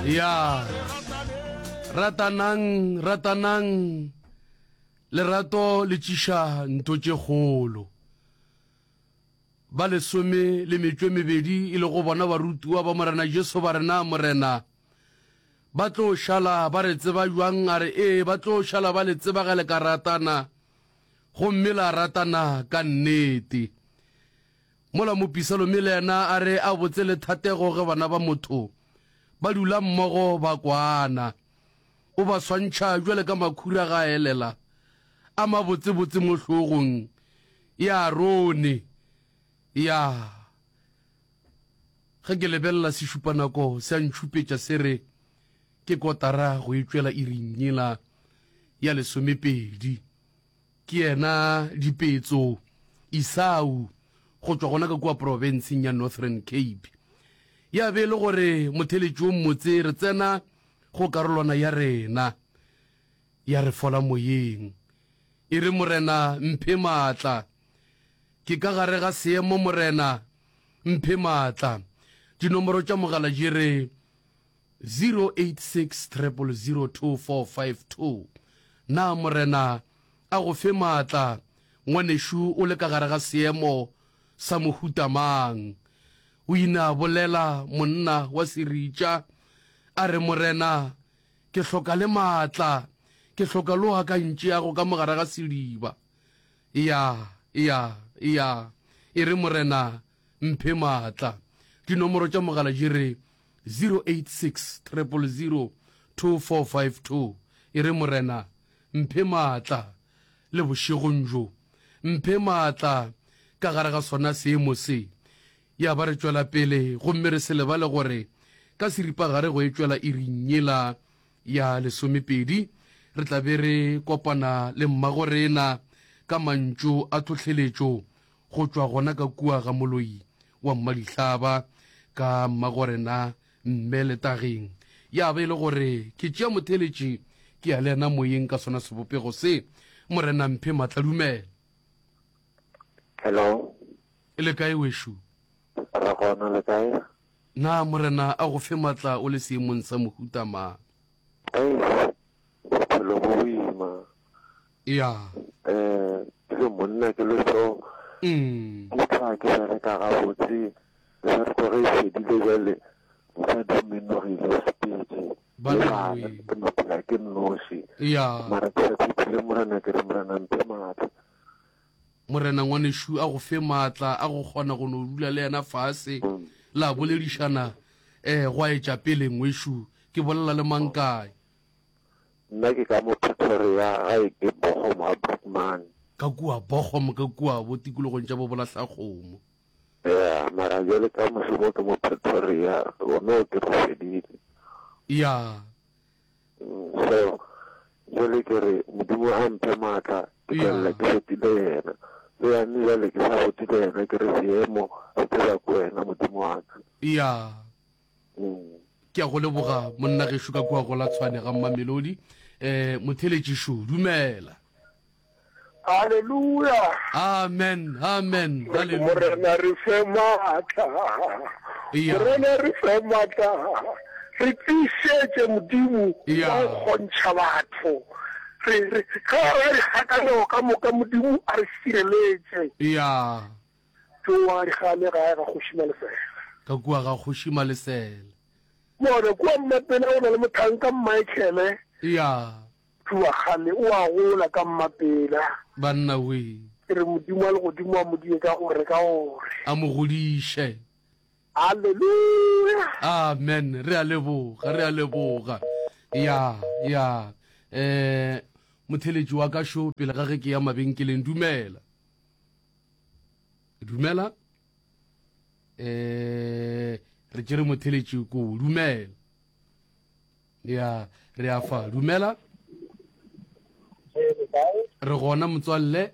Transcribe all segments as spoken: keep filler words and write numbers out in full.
Ya ratanang, ratanang, lerato le tšiša ntho tše kgolo. Ba lesome le metšo e mebedi e lego bona barutiwa ba Morena Jesu ba re, Na Morena, ba tlo šala ba re tseba bjang? A re, Ee, ba tlo šala ba le tseba ge le ka ratana, gomme la ratana ka nnete. Mola mopisalome le yena a re, A botse le thatego ge bana ba motho ba dula mmogo ba kwana. O ba swantšha bjale ka makhura ga a elela a mabotsebotse mo hlogong ya Arone. Ya. Ge ke lebelela sešupanako se a ntšhupetša se re ke kotara go e tšwela iring yela ya lesomepedi. Ke yena Dipetso Esau go tšwa gona ka kua profenseng ya Northern Cape. Ya be e le gore motheletši wo mmotse re tsena go karolwana ya rena ya re fola moyeng. E re, Morena, mphe maatla. Ke ka gare ga seemo, Morena, mphe maatla. Dinomoro tša mogala di re zero eight six triple zero two four five two. Na Morena a go fe maatla, ngwanešu, o le ka gare ga seemo sa mohuta mang? O ile a bolela monna wa seritša, a re, Morena, ke hloka le maatla, ke hloka lo a ka ntšeago ka mo gare ga sediba. Ya, ya, ya. E re, Morena, mphe maatla. Dinomoro tša mogala di re zero eight six triple zero two four five two. E re, Morena, mphe maatla le bošegong bjo. Mphe maatla ka gare ga sona seemo se. Ya ba re tšwela pele gomme re se lebale gore ka seripagare go e tšwela iring yela ya lesomepedi re tla be re kopana le mmagorena ka mantšu a tlhohleletšo go tšwa gona ka kua ga moloi wa Mmadihlaba ka mmagorena Mme Letageng. Ya ba e le gore ke tšea motheeletši ke ya le yena moyeng ka sona sebopego se. Morena mphe matla dumela. Hello. E le kae wešo? Re gona, le kae? Na Morena a go fe matla o le seemong sa mohuta mang? Eish, bophelo bo boima. Ya. Eh, ke le monna ke le so. Mm. Ke tla ke bereka gabotse. Mebereko ge e fedile bjale, mosadi o menogile o sepetše. Ba Le le bana we. ke no phela ke nnoši. Ya. Mara ke sa tshepile Morena ke re Morena mphe matla. Morena ngwanešu a go fe maatla a go kgona go no dula le yena fase la boledišana eh gwa etša pele ngwešu ke bolela le mang kae. Nna ke ka mo Pretoria gae ke Bochum ga Brookman. Ka kua Bochum ka kua bo tikologong tša bo Bolahlakgomo. Ya mara bjale ka mošomo ke mo Pretoria gona ke re fedile. Ya. So jale ke re Modimo a mphe maatla ke tšwelela ke botile yena. Le yane jale ke sa botile yena ke re seemo se tseba ke wena Modimo wa ka. Ya. Ke a go leboga monna gešo ka kua go la Tshwane ga Mmamelodi. Eh motheletši šo dumela. Haleluya. Amen. Amen. Haleluya. Morena re fe maatla. Morena re fe maatla. Re tiišetše Modimo wa go kgontšha batho. Re re ge re dikgakanego ka moka Modimo a re šireletše. Ya. Tsoa dikgale gae ga Kgoši Malesela. Ka kua ga Kgoši Malesela. Bona kua Mmapela go na le mothanka Michael. Ya. Tsoa kgale o a gola ka Mmapela. Banna wee. Ke re Modimo wa legodimo a mo die ka gore ka gore. A mo godiše. Haleluya. Amen. Re a leboga, re a leboga. Ya, ya. Eh, motheletši wa ka šo pele ga ge ke ya mabenkeleng dumela. Dumela. Eh, re tšere motheletši ko dumela. Ya, re a fa. Dumela. Re gona motswalle.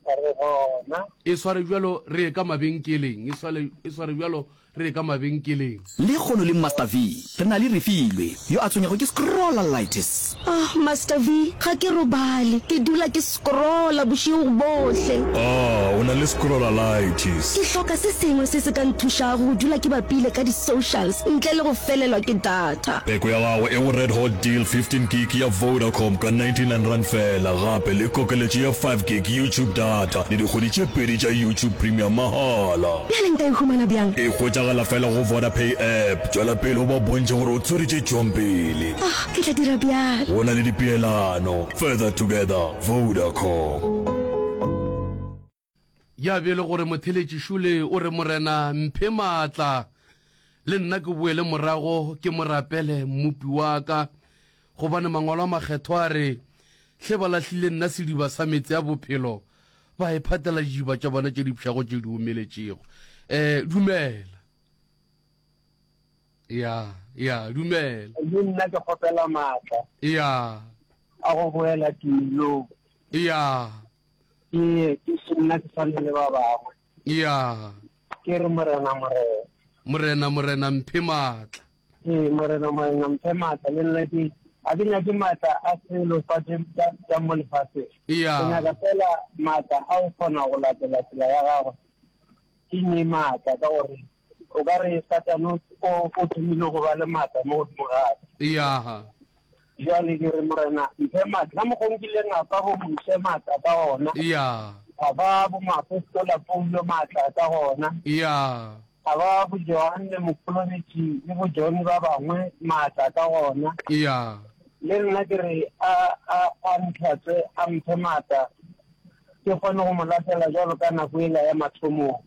Re gona. E sware bjalo re ye ka mabenkeleng. E sware e sware bjalo re ye ka mabenkeleng. Lekgono le Master V, re na le Refilwe, yo a tshwenyago ke scrollalitis. Ah, Master V, ga ke robale. Ke dula ke scrolla bošego bohle. Ah, o na le scrollalitis. Ke hloka se sengwe se se ka nthušago go dula ke bapile ka di-socials ntle le go felelwa ke data. Peko ya gago e go Red Hot Deal fifteen gig ya Vodacom ka ninety nine rand fela, gape le kokeletšo ya five gig YouTube data le dikgwedi tše pedi tša YouTube Premium mahala. Bjale nka e humana bjang? E hwetšagala fela go Vodapay app. Tšwela pele o ba bontšhe gore o tshwere tše tšwang pele. Ah, ke tla dira bjalo. Go na le dipeelano. Further together, Vodacom. Ya be e le gore motheletši šole o re, Morena, mphe maatla, le nna ke boele morago ke mo rapele Mmopi wa ka, gobane Mangwalo a Makgethwa a re, Hle ba lahlile nna sediba sa meetse a bophelo, ba iphatela didiba tša bona tše di pšhago tše di omeletšego. Eh, dumela. Ya, ya, dumela. Le nna ke kgopela maatla. Ya. A go boela tumelong. Ya. Ke, ke se nna ke swane le ba bangwe. Ya. Ke re Morena, Morena. Morena, Morena, mphe maatla. Ee, Morena, Morena, mphe maatla. Le nna ke, ga ke nyake maatla a selo fa tše, tša, tša mo lefaseng. Ya. Ke nyaka fela maatla a go kgona go latela tsela ya gagwe. Ke nee maatla, ka gore o ka re Satane o, o, o thomile go ba le maatla mo godimo ga ka. Ya. Bjale ke re, Morena, mphe maatla, ka mokgwa o nkileng a fa bo Moshe maatla ka gona. Ya. A fa bo moapostola Paulo maatla ka gona. Ya. A ba bo Johanne Mokolobetši le bo John ba bangwe maatla ka gona. Ya. Le nna ke re, a, a, a ntlhatswe, a mphe maatla, ke kgone go mo latela bjalo ka nako yela ya mathomong.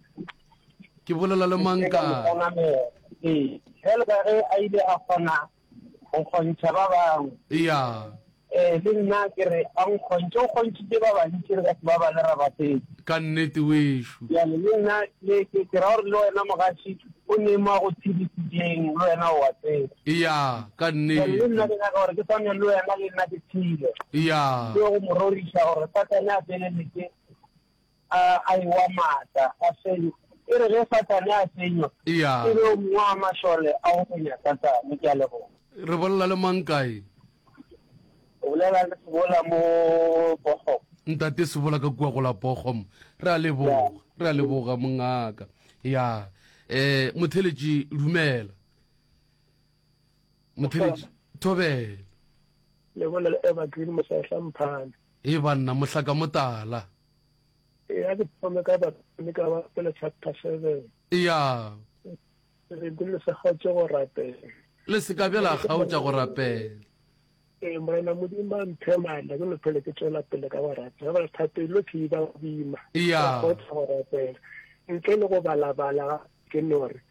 Ke bolela le mang Ke ka mo ka? kgonamela. Ee, bjalo ka ge a ile a kgona go kgontšha ba bangwe. Ya. Ee, le nna ke re a nkgontšhe, o kgontšhitše ba bantši re ka se ba bale ra ba fetša. Ka nnete wešo. Bjale le nna le ke, ke ra gore le wena mogaši o ne mo a go tshedisitšeng, le wena o a tseba. Ya, ka Bjale le nna nnete. ke nyaka gore ke swane le wena, le nna ke tshele. Ya. Ke yo go mo roriša gore Satane a feleletše a, a ewa maatla, a fenywa. E re ge Satane a fenywa, Ya. e be o mongwe wa mašole a go fenya Satane. Ke a leboga. Re bolela le mang kae? O bolela le Sebola mo Bochum. Ntate Sebola ka kua go la Bochum. Re a leboga, re a leboga mongaka. Ya. Eh, motheletši dumela. Motheletši thobela. Le bolela le Evergreen Mosehla Mphane. E banna mohlaka motala. E a ke thome ka ba thome ka ba pele chapter seven. Ya. Re dule se kgaotše go rapela. Le se ka bjala kgaotša go rapela. Ee, Morena Modimo a mphe maatla, ke no phele ke tšwela pele ka go rapela. Gobane thapelo ke e ba boima. Ya. Go kgaotša go rapela. Ntle le go balabala ke no re,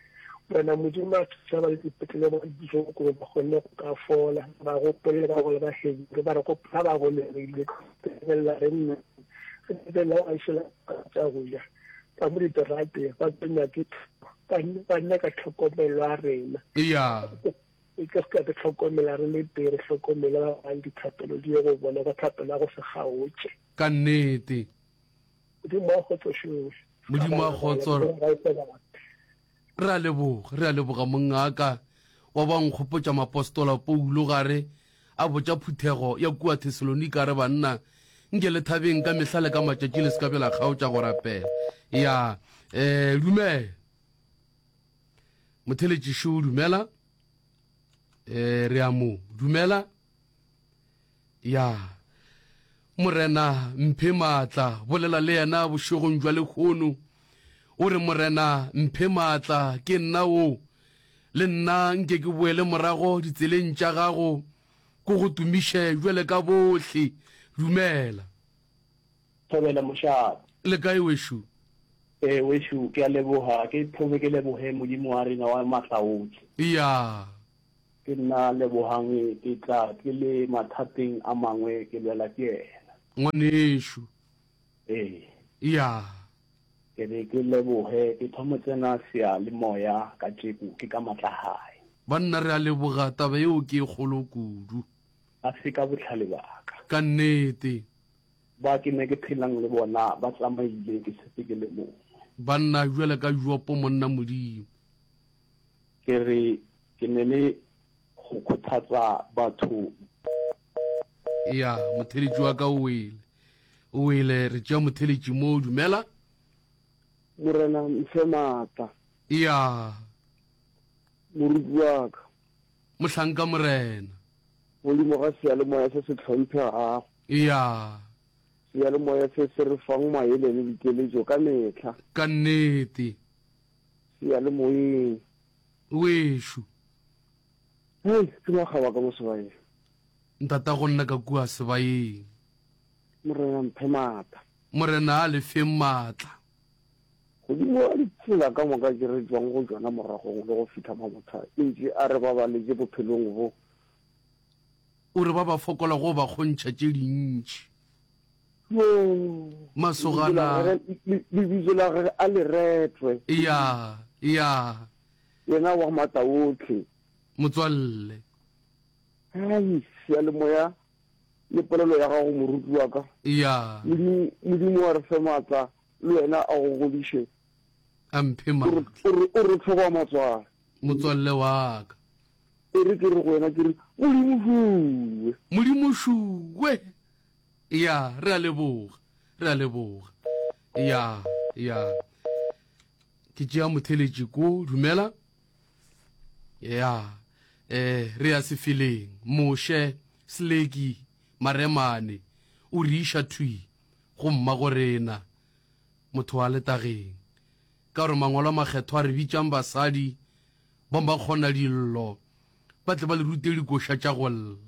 Morena Modimo a thuša ba le dipetlele ba dijoko gore ba kgone go ka fola, ba gopole ka gore ba hebile, ba re gopola ba golegile, lebelela re nne, re lebelela ba šela tša go ja, ba mo diterateng, ba tsenya ke ba, ba nyaka tlhokomelo ya rena. Ya. E ka se ka re tlhokomela re le tee, re hlokomele ba bang, dithapelo di ye go bona ka thapelo ya go se kgaotše. Ka nnete. Modimo wa kgotso šowe. Modimo wa kgotso. Re a leboga, re a leboga mongaka wa ba nkgopotša mapostola Paulo gare a botša phuthego ya kua Thesalonika re banna nke le thabeng ka mehla le ka matšatši le se ka be la kgaotša go rapela. Ya, eh, dumela. Motheletši šo dumela. Eh, re a mo dumela. Ya. Morena mphe maatla, bolela le yena bošegong jwa lehono. O re Morena mphe maatla, ke nna o. Le nna nke ke boele morago ditseleng tša gago, ko go tumiše jwale ka bohle. Dumela. Thobela mošate. Le kae wešo? Ee wešo, ke a leboga, ke thome ke leboge Modimo wa rena wa maatla ohle. Ya. Ke nna Lebogang, ke tla ke le mathateng a mangwe ke lwela ke yena. Ngwanešo. Ee. Ya. Ke re ke leboge, ke thome tsena seyalemoya ka tšeko ke ka matla gae. Banna re a leboga, taba yeo ke e kgolo kudu. A se ka bohlale ba ka. Ka nnete. Ba ke ne ke phelang le bona ba tsamaile ke setse ke le mongwe. Banna jwale ka Jopo monna Modimo. Ke re ke ne le go kgothatsa batho. Ya, motheletši wa ka o wele. O wele, re tšea motheletši mo, dumela. Morena mphe maatla. Ya. Moruti wa ka. Mohlanka Morena. Godimo ga seyalemoya se se hlomphegago. Ya. Seyalemoya se se re fang maele le dikeletšo ka mehla. Ka nnete. Seyalemoyeng. Wešo. Hei, ke makgaba ka mo sebayeng. Ntatago nna ka kua sebayeng. Morena mphe maatla. Morena a le feng maatla. Godimo ga ditsela ka moka tše re tšwang go tšona moragong le go fihla Mamotha, e ntše a re babaletše bophelong bo. O re ba ba fokolago o ba kgontšha tše dintši. Yoo! Masogana. Lebitso la gagwe a le retwe. Ya, ya. Yena wa maatla ohle. Motswalle. Hai, seyalemoya le polelo ya gago moruti wa ka. Ya. Modimo, Modimo a re fe maatla le wena a go godiše. A mphe maatla. O re, o re tlhoba matswalo. Motswalle wa ka. E re ke re go wena ke re, Modimo šuwe. Modimo šuwe. Ya, re a leboga. Re a leboga. Ya, ya. Ke tšea motheletši ko, dumela. Ya, eh, re ya sefeleng. Moshe, Sleki, Maremane, o re iša thwi go mmagorena, motho wa letageng. Ka gore Mangwalo a Makgethwa a re bitšang basadi ba makgonadillo, ba tle ba le rute dikoša tša go lla.